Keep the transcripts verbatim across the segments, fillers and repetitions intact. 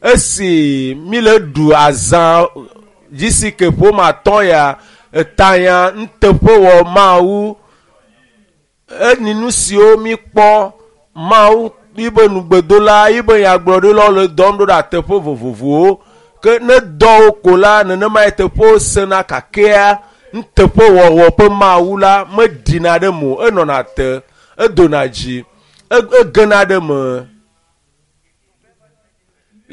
Esi mi le ɖu azã G C K ƒome atɔ̃ ya etanya nuteƒewɔ Mawu eni nu siwo mi kpɔ Mawu yibe nugbedola yibe nyagblɔɖilawo le dɔm ɖo ɖe teƒe vovovowo ke ne dɔ wo ko la nenema ye teƒewo sena kakea nuteƒewɔwɔ ƒe Mawu la meɖina ɖe me o enɔna te edona dzi egena ɖe me.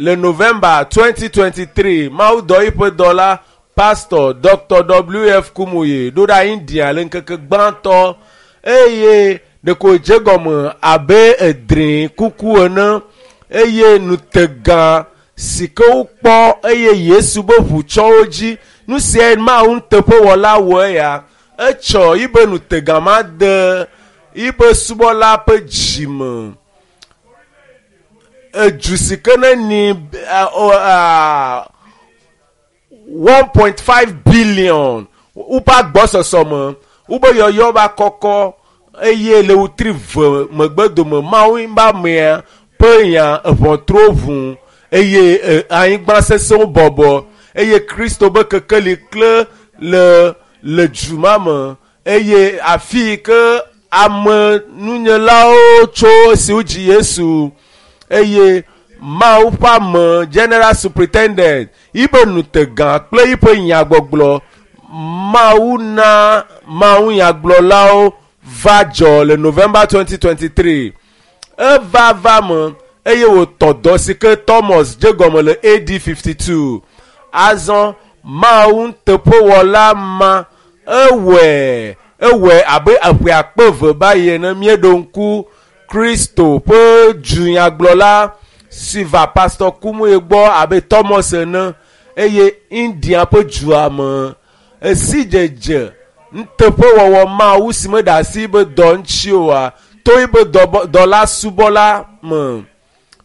Le November twenty twenty-three Mawu dɔ yiƒe dɔla Pastor Doctor W F Kumuyi ɖo ɖa India le ŋkeke gbãtɔ eye ɖeko dze gɔme abe edrĩ kuku ene eye nutegã si ke wokpɔ eye Yesu be ʋu tsɔ wo dzi nu siae Mawu nuteƒewɔla wɔ eya etsɔ yibe nutegã ma de yibe subɔla ƒe dzime edu si ke ne ni one point five billion woƒe agbɔsɔsɔ me wobe yɔyɔ va kɔkɔ eye le wotri ve megbe dome Mawu ba mea ƒe nya eʋɔtruwo ʋu eye anyigba sesẽwo bɔbɔ eye Kristo be kekeli kle le le du ma me eye afi yi ke ame nunyelawo tso esiwo dzi Yesu eye Mawu ƒe ame general superintendent yibe nutegã kple yiƒe nyagbɔgblɔ Mawu na Mawu nyagblɔlawo va dzɔ le November twenty twenty-three eva va me eye wòtɔ dɔ si ke Thomas dze gɔme le A D fifty-two azɔ Mawu nuteƒewɔla ma ewɔe ewɔe abe eƒe akpe eve ba yi ene míeɖo ŋku Kristo ƒe dunyagblɔla si va Pastor Kumuyi gbɔ abe Thomas ene eye India ƒe dua me esi dzedze nuteƒewɔwɔ Mawu si meɖe asi be dɔ ŋuti oa to yibe dɔla subɔla me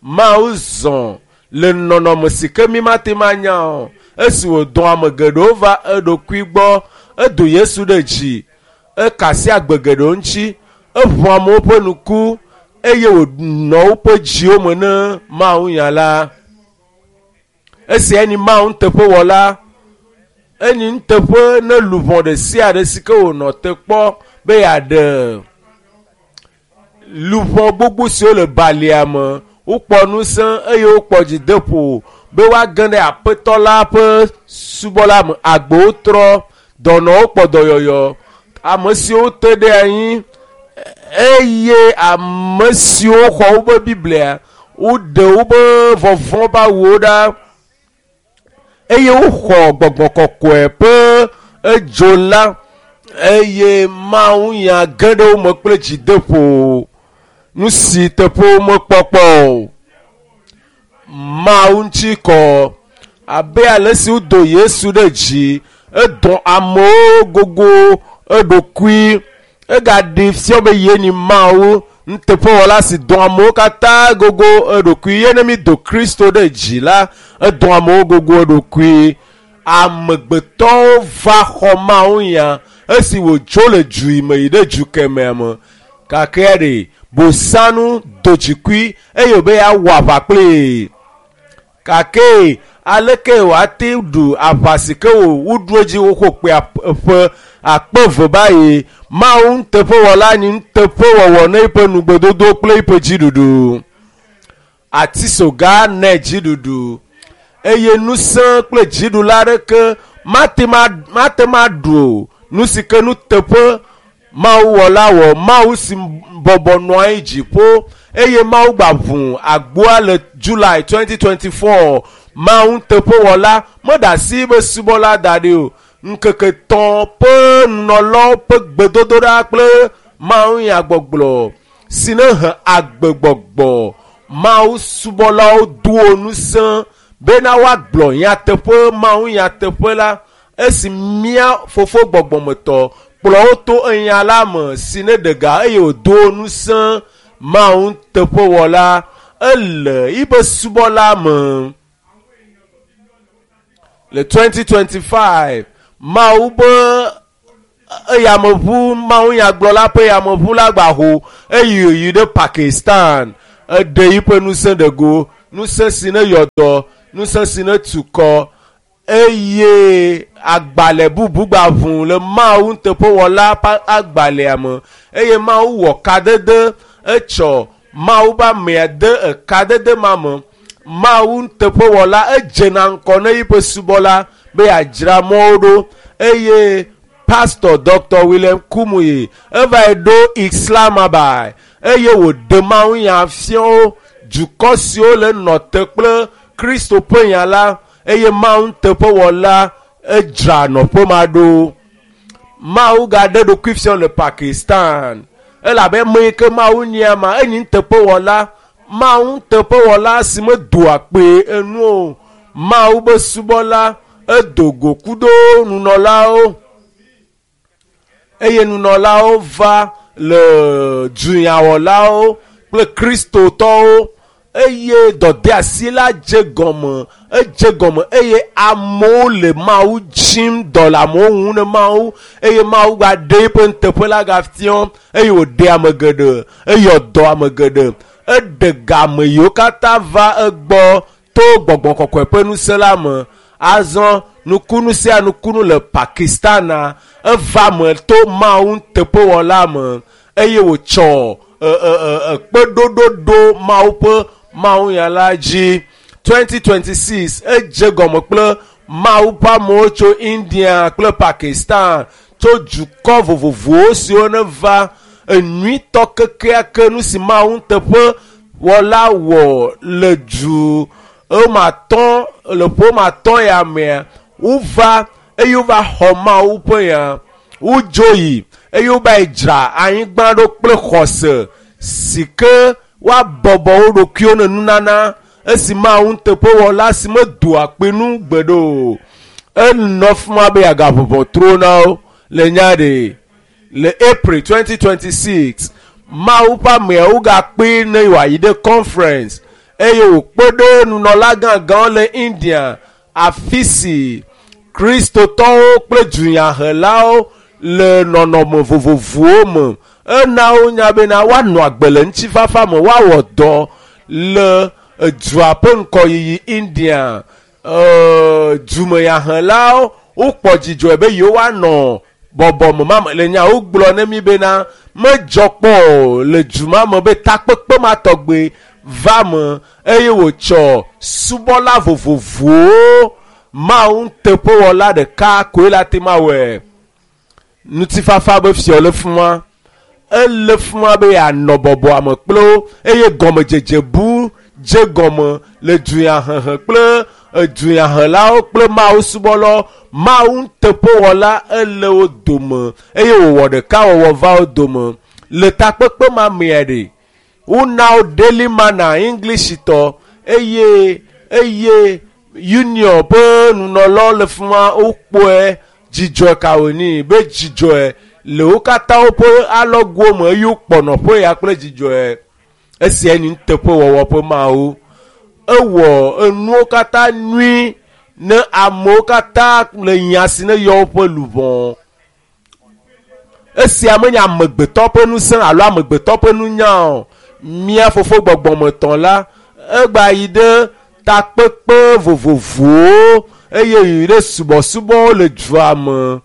Mawu zɔ le nɔnɔme si ke mi mate ma nya o esi wòdɔ ame geɖewo va eɖokui gbɔ edo Yesu ɖe dzi ekasi agbe geɖewo ŋuti eʋu amewo ƒe nuku eye wònɔ woƒe dziwo me ne Mawu nya la esia ni Mawu nuteƒewɔla enyi nuteƒe ne luʋɔ ɖe sia ɖe si ke wònɔ te kpɔ be yeaɖe luʋɔ gbogbo siwo le balia me wokpɔ ŋusẽ eye wokpɔ dzideƒo be woage ɖe aƒetɔ la ƒe subɔla me agbowo trɔ dɔnɔwo kpɔ dɔyɔyɔ ame siwo te ɖe anyi eye ame siwo xɔ wobe Biblia woɖe wobe vɔvɔ̃ ƒe awuwo ɖa eye woxɔ gbɔgbɔ kɔkɔe ƒe edzo la eye Mawu nya ge ɖe wo me kple dzideƒo nu si teƒe womekpɔkpɔ o Mawu ŋuti kɔ abe ale si wodo Yesu ɖe dzi edɔ amewo gogo eɖokui egaɖi fia be ye ni Mawu nuteƒewɔla si dɔ amewo katã gogo eɖokui ye ne mi do Kristo ɖe dzi la edɔ amewo gogo eɖokui amegbetɔwo va xɔ Mawu nya esi wòdzo le du yi me yi ɖe du kemɛa me gake ɖe bosanu do dzikui eye wòbe yeawɔ aʋa kplii gake aleke wòate ɖu aʋa si ke wò woɖu edzi woxɔ kpe ƒe akpe eve ba yi Mawu nuteƒewɔla nyi nuteƒewɔwɔ ne eƒe nugbedodo kple eƒe dziɖuɖu atisoga ne dziɖuɖu eye ŋusẽ kple dziɖula aɖeke mate mate ma ɖu o nu si ke nuteƒe Mawu wɔla wɔ Mawu si bɔbɔ nɔ anyi dziƒo eye Mawu gba ʋu agboa le July twenty twenty-four Mawu nuteƒewɔla meɖe asi be subɔla da ɖi o ŋkeke tɔ̃ ƒe nunɔlawo ƒe gbedodoɖa kple Mawu nyagbɔgblɔ si ne he agbegbɔgbɔ Mawu subɔlawo do ŋusẽ bena woagblɔ nyateƒe Mawu nyateƒe la esi mía fofo gbɔgbɔmetɔ kplɔ wo to enya la me si ne ɖe ga eye wòdo ŋusẽ Mawu nuteƒewɔla ele yibe subɔla me le twenty twenty-five Mawu be eyameʋu Mawu nyagblɔla ƒe yameʋu la gba ho eye wòyi ɖe Pakistan eɖe yiƒe ŋusẽ ɖe go Ŋusẽ si ne yɔdɔ, ŋusẽ si ne tukɔ eye agbalẽ bubu gba ʋu le Mawu nuteƒewɔla ƒe agbalẽa me eye Mawu wɔ kadede etsɔ Mawu ƒe amea de ekadede ma me. Mawu nuteƒewɔla edzena ŋkɔ ne yiƒe subɔla be yeadzra mɔwo ɖo eye Pastor Doctor William Kumuyi evae ɖo Islamabad eye wòɖe Mawu nya fiawo dukɔ siwo le nɔ te kple Kristo ƒe nya la eye Mawu nuteƒewɔla edzra nɔƒe ma ɖo. Mawu gaɖe ɖokui fiɔ le Pakistan elabe ame yi ke Mawu nyia ma enyi nuteƒewɔla. Mawu nuteƒewɔla si medoa kpe enu o. Mawu be subɔla edo go kudo nunɔlawo eye nunɔlawo va le dunyawɔlawo kple kristotɔwo eye dɔdeasi la dze gɔme edze gɔme eye amewo le Mawu dzim dɔ le amewo ŋu ne Mawu eye Mawu gba ɖe eƒe nuteƒe la gafiɔ eye wòɖe ame geɖe eyɔ dɔ ame geɖe eɖe game yiwo katã va egbɔ to gbɔgbɔ kɔkɔe ƒe ŋusẽ la me. Azɔ nukunu sia nukunu le Pakistana eva me to Mawu nuteƒewɔla me eye wòtsɔ ekpeɖoɖo ɖo Mawu ƒe Mawu nya la dzi. twenty twenty six edze gɔme kple Mawu ƒe amewo tso India kple Pakistan tso dukɔ vovovowo siwo ne va enyuitɔ kekeake nu si Mawu nuteƒewɔla wɔ le du ematɔ le ƒomatɔ ya mea wova eye wova xɔ Mawu ƒe nya wodzo yi eye wova dzra anyigba ɖo kple xɔse si ke woabɔbɔ wo ɖokuiwo ne nunana esi Mawu nuteƒewɔla si medoa kpe nu gbeɖe o. Enɔ fi ma be yeagaʋɔʋɔ tro na wo le nya ɖe le April twenty twenty six Mawu ƒe ameawo gakpe ne yewoayi ɖe conference eye wòkpe ɖe nunɔla gãgãwo le India afi si kristotɔwo kple dunyahelawo le nɔnɔme vovovowo me. Ena wonya bena woanɔ agbe le ŋutifafa me, woawɔ dɔ le dua ƒe ŋkɔyiyi India. Dumeyahelawo wokpɔ dzidzɔe be yewoanɔ bɔbɔme ma me le nyawo gblɔ ne mi bena medzɔ kpɔ o le du ma me be takpekpe ma tɔgbe va me eye wòtsɔ subɔla vovovowo Mawu nuteƒewɔla ɖeka koe la te ma wɔe. Ŋutifafa be fiɔ le fi ma. Ele fi ma be yeanɔ bɔbɔa me kple wo eye gɔmedzedze bu dze gɔme le dunyahehe kple dunyahelawo kple Mawu subɔlawo. Mawu nuteƒewɔla ele wo dome eye wòwɔ ɖekawɔwɔ va wo dome. Le takpekpe ma mea ɖe wona wo Daily Manna English tɔ eye eye Union ƒe nunɔlawo le fi ma wokpɔe dzidzɔe ka wònyi be dzidzɔe le wo katã woƒe alɔgowo me eye wokpɔ nɔƒe ya kple dzidzɔe. Esia nye nuteƒewɔwɔ ƒe Mawu. Ewɔ enuwo katã nyui ne amewo katã le nya si ne yɔ woƒe luʋɔ. Esia menye amegbetɔ ƒe ŋusẽ alo amegbetɔ ƒe nunya o. Mía fofo gbɔgbɔmetɔ la egba yi ɖe takpekpe vovovowo eye yi ɖe subɔsubɔwo le dua me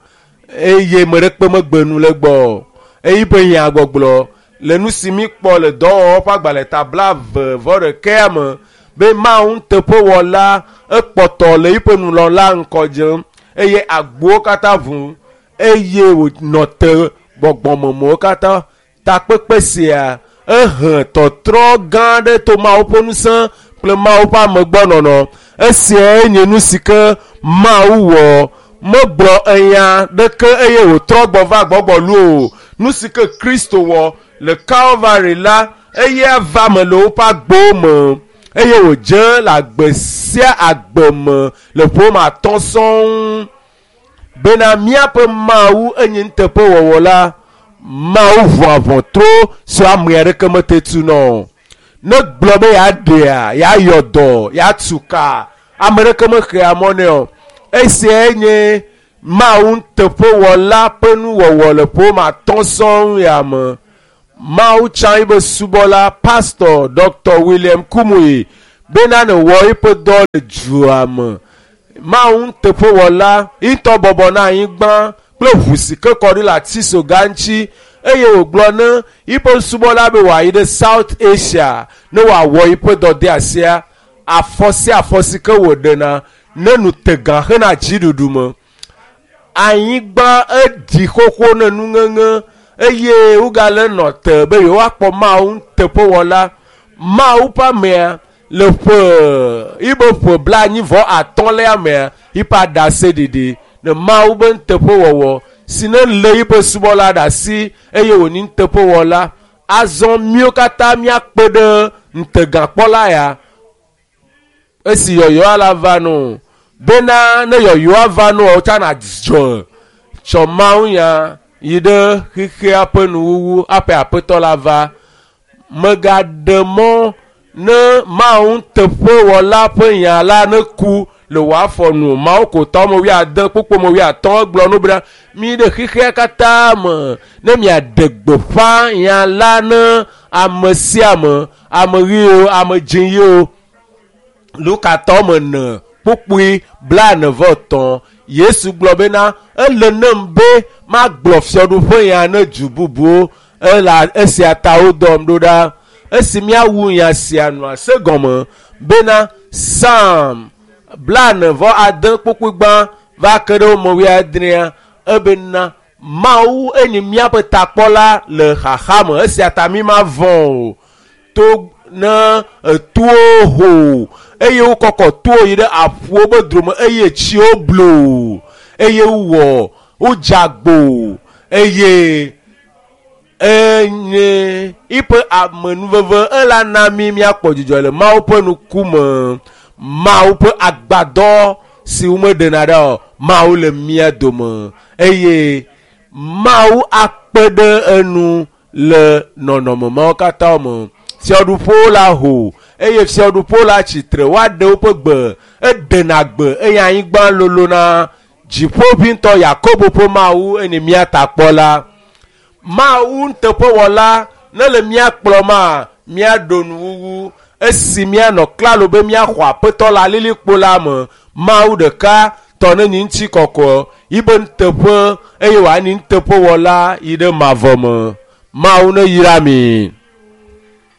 eye ame ɖekpe megbe nu le gbɔ o. Eye ƒe nya gbɔgblɔ le nu si mi kpɔ le dɔwɔwɔ ƒe agbalẽ ta blaeve vɔ ɖekea me be Mawu nuteƒewɔla ekpɔtɔ le yiƒe nunɔla ŋkɔ dzem eye agbowo katã ʋu eye wònɔ te gbɔgbɔmemewo katã. Takpekpe sia ehe tɔtrɔ gã aɖe to Mawu ƒe ŋusẽ kple Mawu ƒe amegbɔnɔnɔ. Esiae nye nu si ke Mawu wɔ. Megblɔ enya ɖeke eye wòtrɔ gbɔ va gbɔgbɔlu o. Nu si ke Kristo wɔ le Calvary la eye ava me le woƒe agbowo me eye wòdze le agbe sia agbe me le ƒome atɔ̃ sɔŋ bena míaƒe Mawu enye nuteƒewɔwɔ la. Mawu ʋua ʋɔtro si ame aɖeke mete tu nɔ o. Ne gblɔ be yeaɖea, yeayɔ dɔ, yeatu ka, ame aɖeke mexea mɔ nɛ o. Esiae nye Mawu nuteƒewɔla ƒe nuwɔwɔ le ƒome atɔ̃ sɔŋ ya me. Mawu tsã yiƒe subɔla Pastor Doctor William Kumuyi Bena ne wɔ eƒe dɔ le dua me. Mawu nuteƒewɔla ŋutɔ bɔbɔ na anyigba kple ʋu si ke kɔ ɖi le atisoga ŋuti eye wògblɔ ne yiƒe subɔla be wòayi ɖe South Asia ne wòawɔ yiƒe dɔdeasia afɔ sia afɔ si ke wòɖena ne nu te gã hena dziɖuɖu me. Anyigba eɖi xoxo ne nuŋeŋe eye wogale nɔ te be yewoakpɔ Mawu nuteƒewɔla. Mawu ƒe amea le ƒe yibe ƒe blaenyi vɔ atɔ̃lia mea yiƒe aɖaseɖiɖi ne Mawu be nuteƒewɔwɔ si ne lé yiƒe subɔla ɖe asi eye wònyi nuteƒewɔla. Azɔ míwo katã míakpe ɖe ŋutegakpɔla ya esi yɔyɔa la va no bena ne yɔyɔa va no wotsana dzɔ tsɔ Mawu nya yi ɖe xexea ƒe nuwuwu aƒe aƒetɔ la va. Megaɖe mɔ ne Mawu nuteƒewɔla ƒe nya la ne ku le wò afɔ nu. Mawu kotɔ me wuiade kpukpu me wuiatɔ̃ egblɔ nu bena mi ɖe xexea katã me ne miaɖe gbeƒã nya la ne ame sia ame, ame ɣiwo, ame dzĩwo. Luka tɔ me ene kpukpui blaene vɔ etɔ̃. Yesu gblɔ bena ele nem be magblɔ fiaɖuƒe ya ne du bubuwo ela esia ta wodɔm ɖo ɖa. Esi míawu nya sia nua se gɔme bena Psalm blaene vɔ ade kpukpui gbã va ke ɖe wo me wuiadrea ebena Mawu enyi míaƒe takpɔla le xaxa me esia ta mi mavɔ̃ o. To ne etowo ho eye wokɔkɔ towo yi ɖe aƒuwo be dome eye tsiwo blo eye wowɔ wodze agbo eye enye yiƒe amenuveve ela na mi míakpɔ dzidzɔ le Mawu ƒe ŋkume. Mawu ƒe agbadɔ si womeɖena ɖa o Mawu le mía dome eye Mawu akpe ɖe enu le nɔnɔme mawo katã me. Fiaɖuƒewo la ho eye fiaɖuƒewo la tsitre woaɖe woƒe gbe eɖena gbe eye anyigba lolona. Dziƒoʋĩtɔ Yakobo ƒe Mawu enye mía takpɔla. Mawu nuteƒewɔla ne le mía kplɔma míaɖo nuwuwu esi míanɔ klalo be míaxɔ aƒetɔ le alilikpo la me. Mawu ɖeka tɔ ne nyi ŋutikɔkɔ yibe nuteƒe eye wòanyi nuteƒewɔla yi ɖe mavɔ me. Mawu ne yra mi.